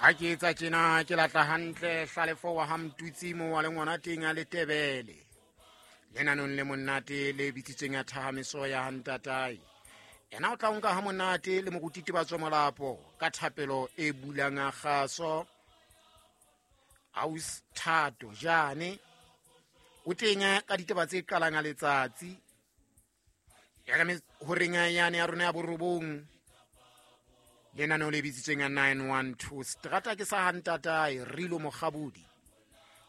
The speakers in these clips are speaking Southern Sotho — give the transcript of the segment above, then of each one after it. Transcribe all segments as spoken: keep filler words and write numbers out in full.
Ha ke etsa tjena ke latla hantle Hlalefo wa ha Mtutsi mo wa le ngwana teng a Letebele. Lenanong le monate le bitsitsweng ya thahamiso ya hantatae. Ena o tla nka ha monate le moruti Tebatso Molapo ka thapelo e bulang a kgaso. Aus Thato Jane o teng ka ditaba tse qalang a letsatsi. Ya ka horeng yane ya rona ya borobong. Lenaneo le bitsitsweng ya nine one two strata ke sa hantatae Rilo Mokgabudi.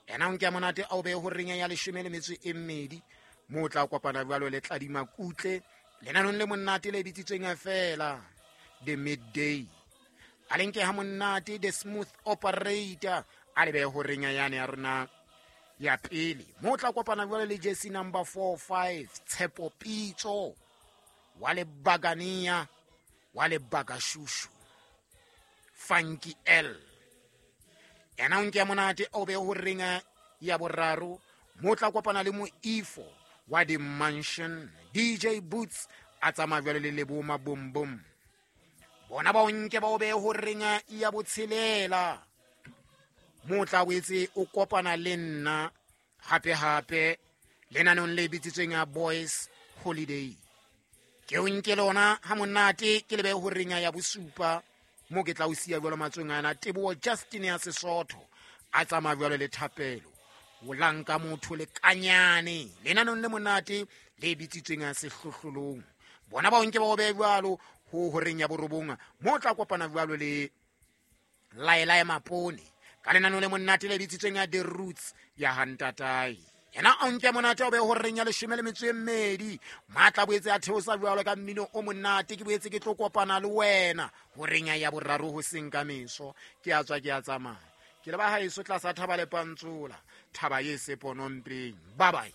Ena o nke monate a o behe horeng ya leshome le metso e mmedi mo o tla kopana jwalo le Tladima Kutle lenanong le monate le bitsitsweng fela the midday. A le nke ha monate the smooth operator a le behe horeng yane ya rona ya pele mo o tla kopana jwalo le jersey number four five Tshepo Pitso wa le Bagania wa le Bagashushu Funky L. Ena o nke monate o be ho renga ya boraro mo tla kopana le Moifo wa the Mansion D J Boots a tsamaya jwale le Lebo Mabom Bom. Bona ba o nke ba o be ho renga ya botshelela mo tla boetse o kopana le nna hape hape lenanong le bitsitsweng ya Boys Holiday. Ke o nke lona ha monate ke le be ho renga ya bosupa mo ke tla o siya jwalo matsweng ana Teboho Justin ya Sesotho a tsamaya jwalo le thapelo o lanka motho le kanyane lenanong le monate le bitsitsweng ya sehlohlolong. Bona ba o nke ba o behe jwalo ho horeng ya borobong mo tla kopana jwalo le Laela Mapone ka lenanong le monate le bitsitsweng ya The Roots ya Hantatae. Ena o nke monate o be horeng ya leshome le metso e mmedi matla boetse a theosa jwalo ka mmino o monate ke boetse ke tlo kopana le wena horeng ya boraro ho seng ka meso ke a tswa ke a tsamaya ke le ba haeso tlasa thaba le pantsola thaba ye seponompeng. Bye bye.